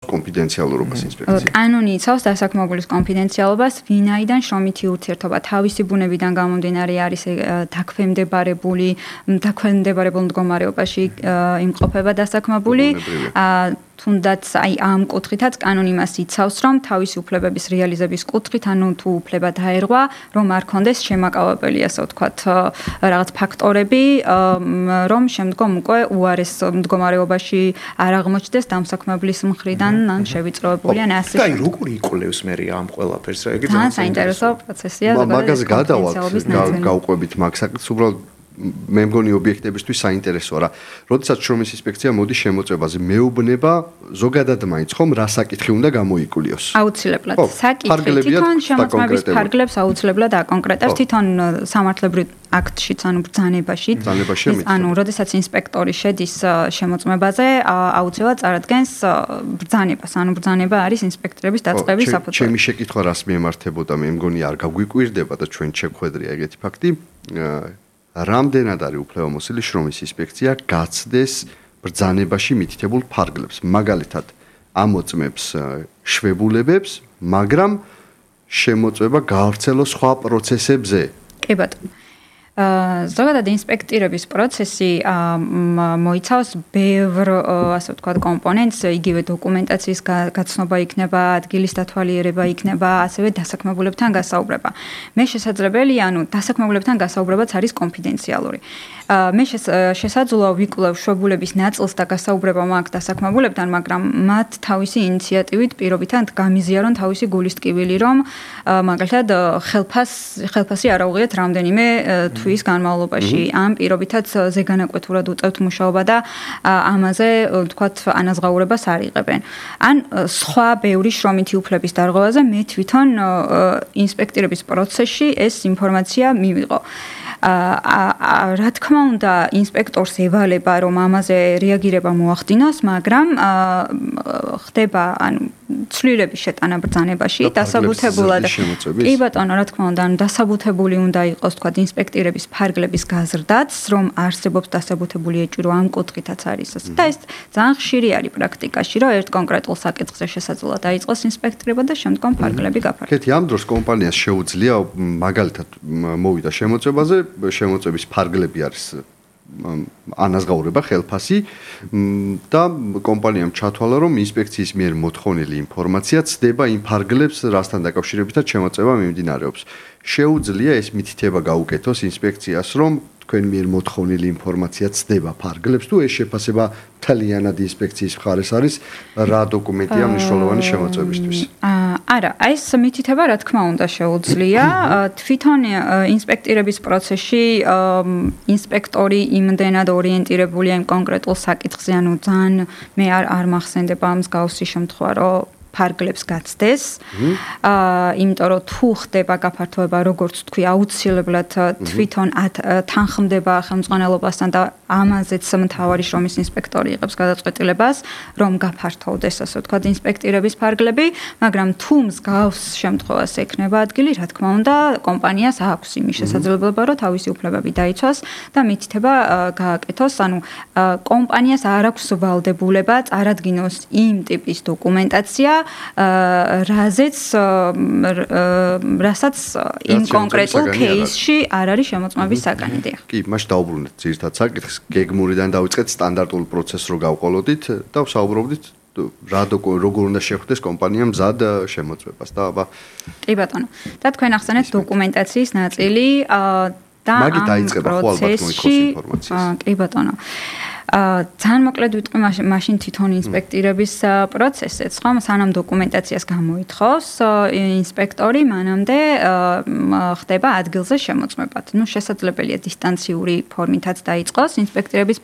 კონფიდენციალურობას ინსპექცია. კანონი იცავს დასაქმებულის კონფიდენციალობას, ვინაიდან შრომითი ურთიერთობა თავისი ბუნებიდან გამომდინარე არის დაქვემდებარებული მდგომარეობაში იმყოფება დასაქმებული. თუნდაც ამ კუთხითაც კანონი მას იცავს, რომ თავისი უფლებების რეალიზების კუთხით, ანუ თუ უფლება დაერღვა, რომ არ კონდეს შემაკავებელი, ასე ვთქვათ, რაღაც ფაქტორები, რომ შემდგომ უკვე უარეს მდგომარეობაში არ აღმოჩნდეს დამსაქმებლის მხრიდან ან შევიწროებული ან ასე. და როგორი იკვლევს მე ამ ყველაფერს რა? იგი ძალიან საინტერესო პროცესია. მაგაზე გადავალთ, გავყვებით მაგ საკითხს, უბრალოდ მე მგონი ობიექტებისთვის საინტერესოა რა. როდესაც შრომის ინსპექცია მოდის შემოწმებაზე, მეუბნება ზოგადად მაინც ხომ რა საკითხი უნდა გამოიკლიოს. აუცილებლად. საკითხი თვითონ შემოწმების ფარგლებს აუცილებლად აკონკრეტებს თვითონ სამართლებრივ აქტშიც, ანუ ბრძანებაში. ანუ როდესაც ინსპექტორი შედის შემოწმებაზე, აუცილებლად წარადგენს ბრძანებას. ანუ ბრძანება არის ინსპექტორების დაწყების საფუძველი. ჩემი შეკითხვა რას მიემართებოდა, მე მგონი არ გაგვიკვირდება და ჩვენ შეგვხედრია ეგეთი ფაქტი. რამდენად არის უფლებამოსილი შრომის ინსპექცია გაცდეს ბრძანებაში მითითებულ ფარგლებს, მაგალითად ამოწმებს შვებულებებს, მაგრამ შემოწმება გაავრცელოს სხვა პროცესებზე. კი ბატონო. ზოგადად ინსპექტირების პროცესი მოიცავს ბევრ, ასე ვთქვათ, კომპონენტს, იგივე დოკუმენტაციის გაცნობა იქნება, ადგილის დათვალიერება იქნება, ასევე დასაქმებულებთან გასაუბრება. მე შესაძლებელია, ანუ დასაქმებულებთან გასაუბრებაც არის კონფიდენციალური. მე შესაძლოა ვიკვლევ შვებულების ნაწილს და გასაუბრება მაქვს დასაქმებულებთან, მაგრამ მათ თავისი ინიციატივით პირობითად გამიზიარონ თავისი გულის ტკივილი, რომ მაგალითად ხელფასი არ აუღიათ რამდენიმე თვის განმავლობაში. ამ პირობითად ზეგანაკვეთურად უწევთ მუშაობა და ამაზე თქვათ ანაზღაურებას არ იღებენ. ან სხვა ბევრი შრომითი უფლების დარღვევაზე მე თვითონ ინსპექტირების პროცესში ეს ინფორმაცია მივიღო. რა თქმა უნდა, ინსპექტორს ევალება, რომ ამაზე რეაგირება მოახდინოს, მაგრამ ხდება, ანუ ცვლილების შეტანა ბრძანებაში, დასაბუთებულად. კი ბატონო, რა თქმა უნდა, ანუ დასაბუთებული უნდა იყოს, თქვა, ინსპექტირების ფარგლების გაზრდაც, რომ არსებობს დასაბუთებული ეჭვი, რომ ამ კუთხითაც არის ასე. და ეს ძალიან ხშირი არის პრაქტიკაში, რომ ერთ კონკრეტულ საკითხზე შესაძლოა დაიწყოს ინსპექტირება და შემდგომ ფარგლები გაფართოვდეს. კეთი, ამ დროს კომპანიას შეუძლია მაგალითად მოვიდა შემოწმებაზე, შემოწმების ფარგლები არის ანაზღაურება, ხელფასი და კომპანიამ ჩათვალა, რომ ინსპექციის მიერ მოთხოვნილი ინფორმაცია ცდება იმ ფარგლებს, რასთან დაკავშირებითაც შემოწმება მიმდინარეობს. შეუძლია ეს მითითება გაუკეთოს ინსპექციას, რომ თქვენ მიერ მოთხოვნილი ინფორმაცია ცდება ფარგლებს თუ ეს შეფასება თლიანად ინსპექციის მხარეს არის რა დოკუმენტია მნიშვნელოვანი შემოწმებისთვის. არა, ეს მითითება რა თქმა უნდა შეუძლია. თვითონ ინსპექტირების პროცესში ინსპექტორი იმდენად ორიენტირებულია იმ კონკრეტულ საკითხზე, ანუ ძალიან მე არ მახსენდება მსგავსი შემთხვევა, რომ ფარგლებს გაცდეს. იმიტომ რომ თუ ხდება გაფართოება, როგორც თქვი, აუცილებლად თვითონ თანხმდება ხელმძღვანელობასთან და ამაზეც მთავარი შრომის ინსპექტორი იღებს გადაწყვეტილებას, რომ გაფართოვდეს, ასე ვთქვათ, ინსპექტირების ფარგლები, მაგრამ თუ მსგავს შემთხვევას ექნება ადგილი, რა თქმა უნდა, კომპანიას აქვს იმის შესაძლებლობა, რომ თავისი უფლებები დაიცვას და მითითება გააკეთოს, ანუ კომპანიას არ აქვს ვალდებულება წარადგინოს იმ ტიპის დოკუმენტაცია, რასაც იმ კონკრეტულ кейსში არ არის შემოწმების საკანი. კი, მაშ დაუბრუნდეთ ძირითად საკითხს, გეგმურიდან დავიწყეთ სტანდარტულ პროცესს რო გავყოლოდით და ვსაუბრობდით როგორ უნდა შეხვდეს კომპანია მზად შემოწმებას და აბა. კი ბატონო. და თქვენ ახსენეთ დოკუმენტაციის ნაწილი და მაგით დაიწყება ხო ალბათ მოიქოს ინფორმაციას. კი ბატონო. ძალიან მოკლედ ვიტყვი მაშინ თვითონ ინსპექტირების პროცესიც, ხო? სანამ დოკუმენტაციას გამოითხოვს ინსპექტორი, მანამდე ხდება ადგილზე შემოწმება. ნუ შესაძლებელია დისტანციური ფორმითაც დაიწყოს ინსპექტირების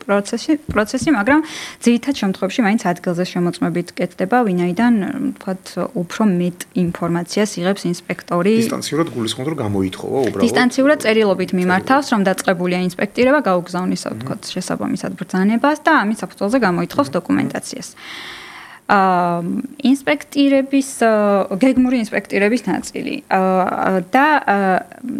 პროცესი, მაგრამ ძირითად შემთხვევაში მაინც ადგილზე შემოწმებით კეთდება, ვინაიდან, ვთქვათ, უფრო მეტ ინფორმაციას იღებს ინსპექტორი. დისტანციურად გულისხმობთ, რომ გამოითხოვა უბრალოდ. დისტანციურად წერილობით მიმართავს, რომ დაწყებულია ინსპექტირება, გაუგზავნის, ვთქვათ, შესაბამისად ბრძანება და ამის საფუძველზე გამოითხოვს დოკუმენტაციას. ინსპექტირების გეგმური ინსპექტირების ნაწილი და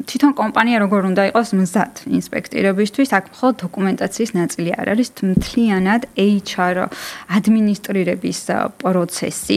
თვითონ კომპანია როგორ უნდა იყოს მზად ინსპექტირებისთვის, აქ მხოლოდ დოკუმენტაციის ნაწილი არ არის, მთლიანად HR ადმინისტრირების პროცესი.